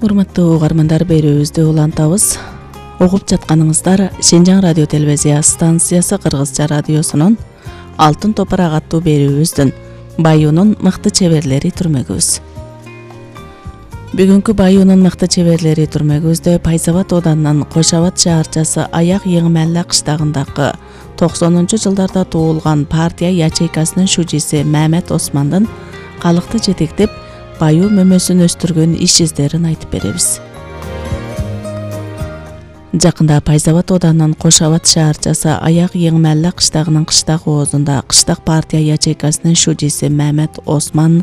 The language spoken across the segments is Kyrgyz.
Урматтуу угармандар, берүүбүздү улантабыз. Угуп жатканыңыздар Шинжаң радио телевизия станциясы Кыргызча радиосунун Алтын топурак аттуу берүүбүздүн Баюунун мыкты чеберлери түрмөгүбүз. Бүгүнкү Баюунун мыкты чеберлери түрмөгүбүздө Пайзабад ооданынан Кошобод шаарчасы Аяк Еңмәллә кыштагындагы 90-жылдарда туулган партия ячейкасынын шужиси Мамет Османдын калыкты жетектеп Баю мөмөсүн өстүргөн иш издерин айтып беребиз. Жакында Пайзабад ооданынан Кошобод шаарчасы Аяк Еңмәллә кыштагынын кыштак оозунда кыштак партия ячейкасынын шужиси Мамет Осман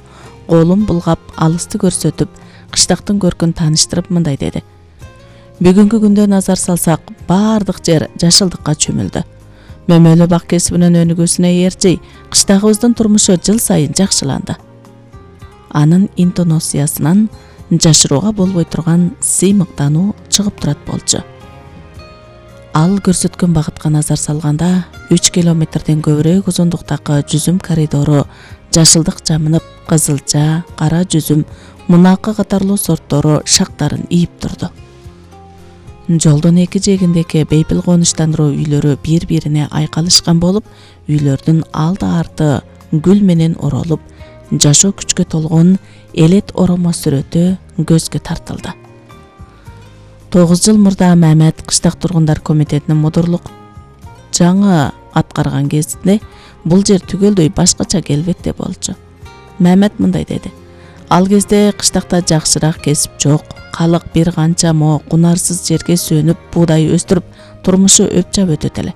колун булгап алысты көрсөтүп, кыштактын көркүн тааныштырып мындай деди: Бүгүнкү күндө назар салсак, баардык жер жашылдыкка чөмүлдү. Мөмөлө бак кесибинин өнүгүүсүнө ээрчи кыштагыбыздын турмушу жыл сайын жакшыланды. Анын интонациясынан жашырууга болбой турган сыймыктануу чыгып турат болчу. Ал көрсөткөн багытка назар салганда 3 километрден көбүрөөк узундуктагы жүзүм коридору жашылдык жамынып, кызылча, кара жүзүм, мунакы катарлуу сорттору шактарын ийип турду. Жолдун эки жээгиндеги бейпил конуштандыруу үйлөрү бири-бирине айкалышкан болуп, үйлөрдүн алды-арты гүл менен оролуп, жашоо күчкө толгон элет оромо сүрөтү көзгө тартылды. 9 жыл мурда Мамет кыштак тургундар комитетинин мудурлук жаңы аткарган кезинде бул жер түгөлдөй башкача келбетте болчу. Мамет мындай деди: Ал кезде кыштакта жакшыраак кесип жок, калык бир канча мо кунарсыз жерге сөнүп буудай өстүрүп турмушу өпчап өтөт эле.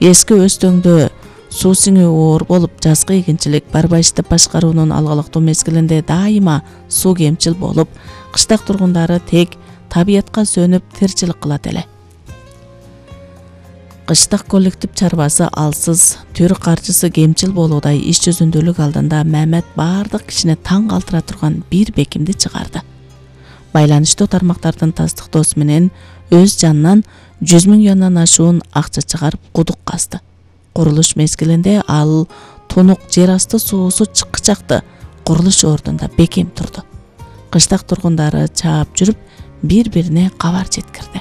Эски Өстөңдө суу сиңүү оор болуп, жазгы эгинчилик барбайчтып башкаруунун алгылыктуу мезгилинде дайыма суу кемчил болуп, кыштак тургундары тек табиятка сөнүп тирчилик кылат эле. Кыштак коллектив чарбасы алсыз, төр каржысы кемчил болуудай иш жүзүндүүлүк алдында Мамет баардык кишини таң калтыра турган бир бекимди чыгарды. Байланыштуу тармактардын тастыктоосу менен өз жанынан 100 000 юандан ашуун акча чыгарып кудук казды. Курулуш мезгилинде ал тунук жер асты суусу чыкчакты курулуш ордунда бекем турду. Кыштак тургундары чаап жүрүп, бири-бирине кабар жеткирди.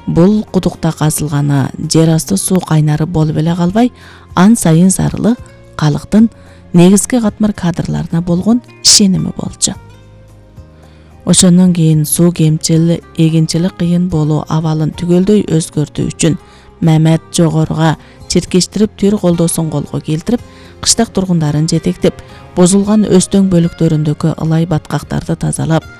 Бул кудукта казылганы жер асты суу кайнары болуп эле калбай, ан сайын зарылы калыктын негизги катмар кадрларына болгон ишеними болчу. Ошондон кийин суу кемчил, эгинчилик кыйын болуу абалын түгөлдөй өзгөртүү үчүн Мамет жогоруга чиркештирип төр колдоосун колго келтирип, кыштак тургундарын жетектеп, бузулган Өстөң бөлүктөрүндөгү ылай баткактарды тазалап,